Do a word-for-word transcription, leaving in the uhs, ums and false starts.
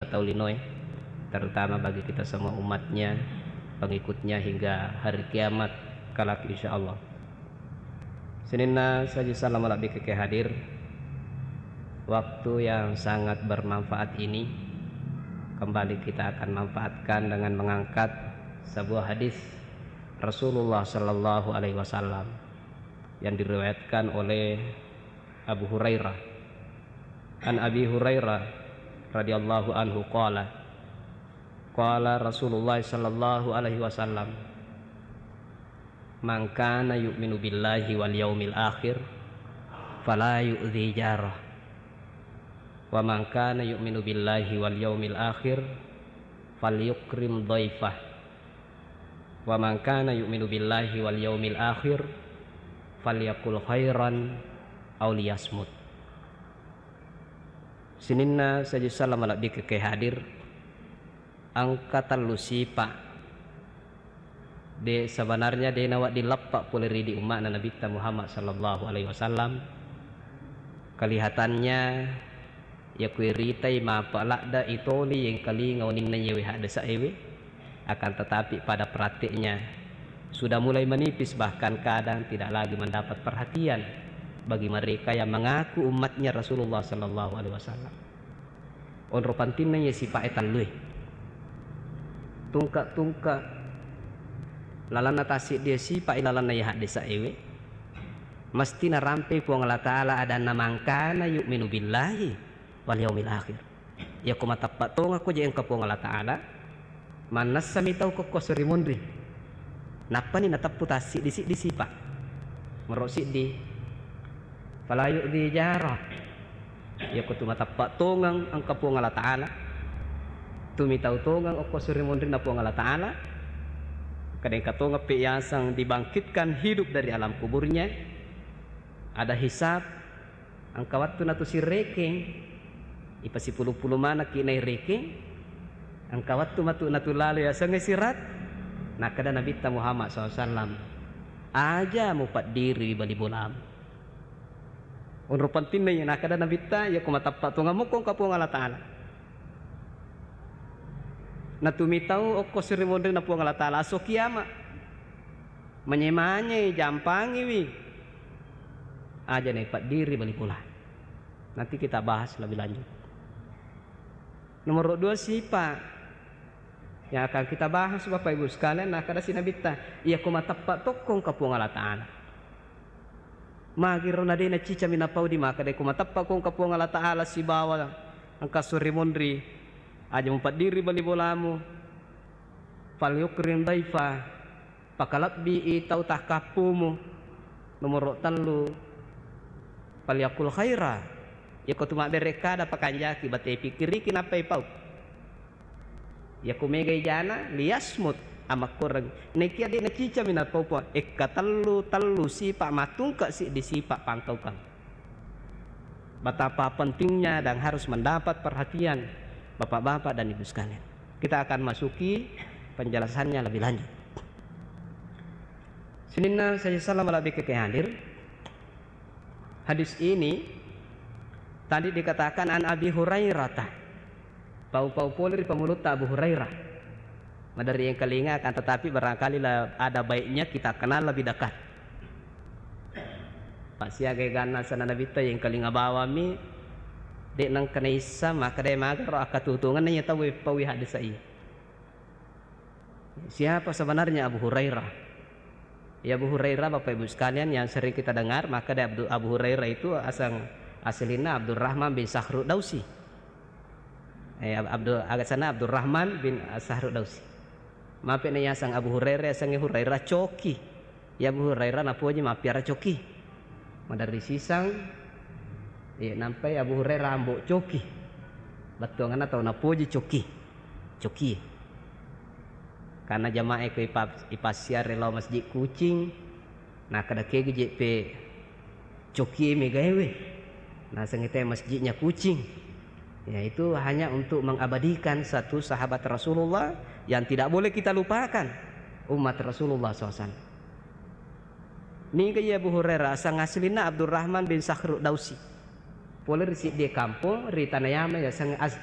tau linoe, terutama bagi kita semua umatnya, pengikutnya hingga hari kiamat kelak, insya Allah. Sininna saji salama lebbi keke hadir. Waktu yang sangat bermanfaat ini kembali kita akan manfaatkan dengan mengangkat sebuah hadis Rasulullah Sallallahu Alaihi Wasallam yang diriwayatkan oleh Abu Hurairah. An Abi Hurairah radhiyallahu anhu qala, qala Rasulullah sallallahu alaihi wasallam, "Man kana yu'minu billahi wal yaumil akhir, fala yu'dzi jarah. Wa man kana yu'minu billahi wal yaumil akhir, falyukrim dhaifah. Wa man kana yu'minu billahi wal yaumil akhir, falyakul khairan aw liyasmut." Sininna saji salama lebbi keke hadir. Engka tellu sipa de, sebenarnya de nawedding leppa pole ri idi umma'na Nabitta Muhammad sallallahu alaihi wasallam. Kelihatannya, yakku iritai mappa ladda itoli yengkalinga oninna yewe haddesa ewe, akan tetapi pada prakteknya sudah mulai menipis, bahkan kadang tidak lagi mendapat perhatian bagi mereka yang mengaku umatnya Rasulullah sallallahu alaihi wasallam. Onro pantinna iye sipa'e tellue. Tungke-tungke lalanna tassiddi sipa'i lalanna iye haddesa ewe, mesti narampei Puang Allah Ta'ala adanna, "Man kana yu'minu billahi wal yaumil akhir." Iyako mateppa tongekko je engka Puang Allah Ta'ala, mannessami tau kokko suri monri. Nappani nateppu tassiddi-siddi sipa. Mero siddi, fala yu'dzi jarah. Iyako tu mateppa tongeng engka Puang Allah Ta'ala, tu mitau tongeng okko suri monrinna Puang Allah Ta'ala, kadengka tongeng pe yaseng dibangkitkan hidup dari alam kuburnya, ada hisab, engka wettu natu sirekeng, ipasipulu-pulu manekki nairekeng, engka wettu matu natu lalo yasengnge sirat. Nakkeda Nabitta Muhammad sallallahu alaihi wasallam, "Aja mupaddiri bali bolamu." Onro pentinna iya nakkeda Nabitta, iyako mateppa tongeng mokko engka Puang Allah Ta'ala. Natu mitau okko suri monrinna Puang Allah Ta'ala, aso kiama. Manye-manye jampangiwi. Aja naipaddiri bali bola. Nanti kita bahas lebih lanjut. Nomor dua, sipa yang akan kita bahas, Bapak Ibu sekalian, nakkeda si Nabitta, iyako mateppa tokko engka Puang Allah Ta'ala. Magiro na de nacicami napau di makkeda, iyako mateppa ko engka Puang Allah Ta'ala sibawa engka suri monri, aja mupaddiri bali bolamu. Falyukrim dhaifa, pakalebbii tau takkappumu. Nomoro tellu, falyakul khaira, iyako tu mabbere kada pakanjaki, bate pikkiriki nappai pau. Iyako mega ijana, liyasmut, amakkoreng. Nekia de nacicami napau Puang, ekka tellu, tellu sipa, matungke siddi sipa pangkaukang. Betapa pentingnya dan harus mendapat perhatian Bapak-bapak dan Ibu sekalian. Kita akan masuki penjelasannya lebih lanjut. Sininna saja salam lebih ke hadir. Hadis ini tadi dikatakan an Abi Hurairah. Pau-pau pole ri pangulutta Abu Hurairah. Maderri engkalinga, akan tetapi barangkali la-, ada baiknya kita kenal lebih dekat. Massiaga eganna asenna Nabitta, yengkalinga bawammi, de nengka naissa, makkeda magaro akkatutungenna iya tau eppaui haddesa iya. Siapa sebenarnya Abu Hurairah? Ya, Abu Hurairah, Bapak Ibu sekalian, yang sering kita dengar, makkeda Abdu-, Abu Hurairah itu aseng, aslinna Abdurrahman bin Sakhru Dausi. Eh, Ab-, Abdul, asenna Abdurrahman bin Sakhru Dausi. Mape na yaseng Abu Hurairah, yasengnge Hurairah coki. Ya, Abu Hurairah napoji mappiara coki. Maderri siseng, eh, nampai Abu Hurairah ambo coki. Bettuanganna tau napoji coki. Coki. Karena jamaah ko ipa-, ipassiare lao Masjid Kucing, nakkeda kegi je pe cokie megaewe. Nasengnge te masjidnya Kucing. Ya, itu hanya untuk mengabadikan satu sahabat Rasulullah yang tidak boleh kita lupakan, umat Rasulullah sallallahu alaihi wasallam. Niga iya Abu Hurairah, aseng aslinna Abdurrahman bin Sakhru Dausi. Pole ri siddi kampong ri Tanah Yaman, yaseng Az-,